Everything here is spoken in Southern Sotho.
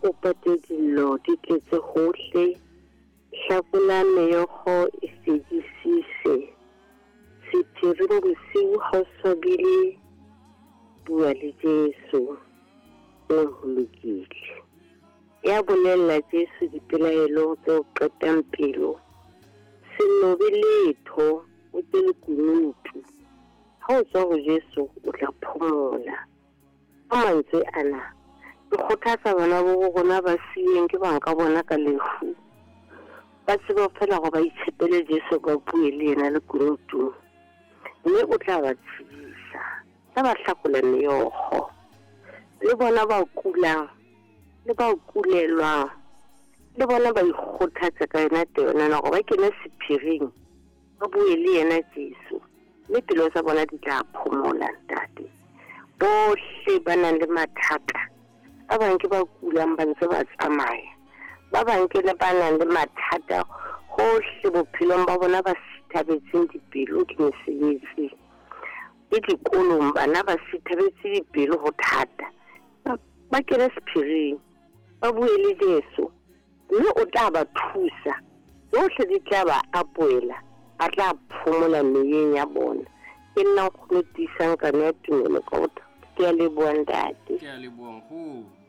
o pate dillo di tletse hohle, hlakola meokgo e fedisise. Sephiring bosiu ha o swabile, bua le Jesu, mme ho lokile. Ya bolella Jesu dipelaelo tse o qetang pelo, se nobe letho, o ke lekunutu. Ha o tswa ho Jesu o tla phomola. Ka mantswe ana, ke kgothatsa bana bo rona ba siilweng ke bang ka bona ka lefu. Ba tsebe feela hore ba itshepele Jesu ba bue le yena lekunutung, mme o tla ba tshedisa, tla ba hlakola meokgo. Le bona ba kulang le ba kulelwang, le bona ba ikgothatse ka yona taba ena hore ba kene sephiring, ba bue le yena Jesu, mme pelo tsa bona di tla phomola. Ntate, bohle ba nang le mathata, ba bang ke ba kulang ba ntse ba tsamaya, ba bang ke le ba nang le mathata hohle bophelong ba bona, ba sithabetseng dipelo ke mesebetsi le dikolong, bana ba sithabetse dipelo ho thata, ba kene sephiring, ba bue le Jesu, mme o tla ba thusa. Tsohle di tla ba apoela, ba tla phomola meyeng ya bona. Ke nna nkgono Tiisang Kano ya Tumelo ka botho. Ke a leboha, ntate. Ke a leboha, nkgono.